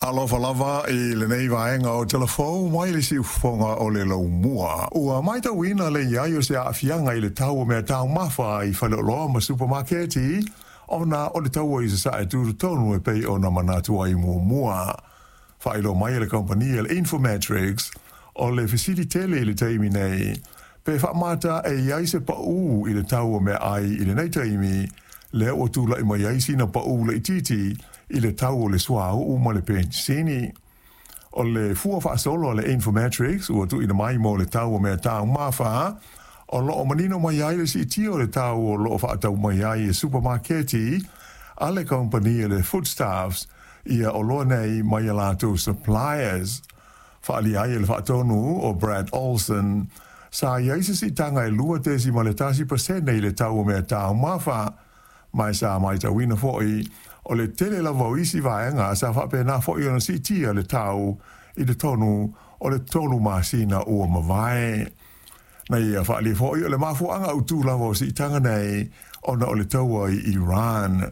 Alofa lava i lenei vaega o Tala Fou mai le siufofoga o le laumua. Ua matauina le i ai o se aafiaga i le tau o mea taumafa i faleoloa ma supamaketi ona o le taua i sasae tutotonu e pei ona manatu ai muamua. Faailoa mai e le kamupani a le Infometrics o le fesili tele i le taimi nei, pe faamata e i ai se paū i le tau o meaai i lenei taimi, lea ua tulai mai ai sina paū laitiiti i le tau o le suauu ma le penisini. O le fua faasolo a le Infometrics ua tuuina mai mo le tau o mea taumafa, o loo manino mai ai le siitia o le tau o loo faatau mai ai e supamaketi a le kamupani a le Foodstuffs ia oloa nei mai a latou suppliers. Faaalia ai e le faatonu o Brad Olson, sa i ai se siitaga e 2.1% i le tau o mea taumafa, ma e sa matauina foi o le tele lava o isi vaega sa faapena foi ona siitia le tau i totonu o le 3 masina ua mavae. Na ia faaalia foi o le mafuaaga autu lava o siitaga nei ona o le taua i Iran.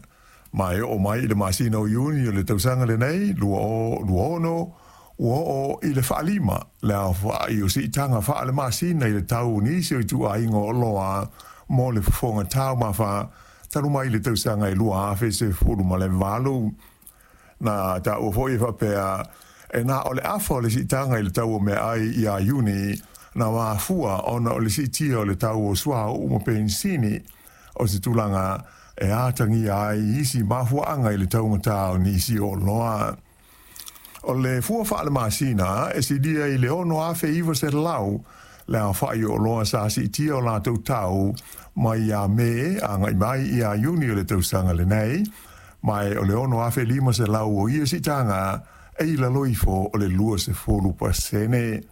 Ma e oo mai i le masina o Iuni o le tausaga lenei 2026, ua oo i le 5 le aofai o siitaga faale-masina i le tau o nisi o ituaiga o oloa mo le fofoga taumafa talu mai le tausaga e 2018. Na taua foi e faapea, e na o le afa o le siitaga i le tau o meaai ia Iuni na mafua ona o le siitia o le tau o suauu ma penisini, o se tulaga e atagia ai isi mafuaaga i le taugata o nisi o oloa. O le fua faale-masina e silia i le 6,900 le aofai o oloa sa siitia o latou tau mai ia Me agai mai ia Iuni o le tausaga lenei, ma e o le 6,500 o ia siitaga e i lalo ifo o le 20%.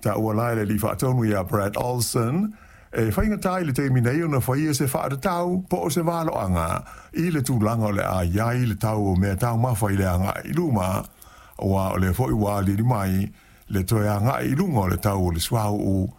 Taua la e le alii faatonu ia Brad Olson, e faigata i le taimi nei ona faia se faatatau po o se valoaga i le tulaga o le a i ai le tau o mea taumafa i le agai i luma, aua o lea foi ua aliali mai le toe agai i luga o le tau o le suauu.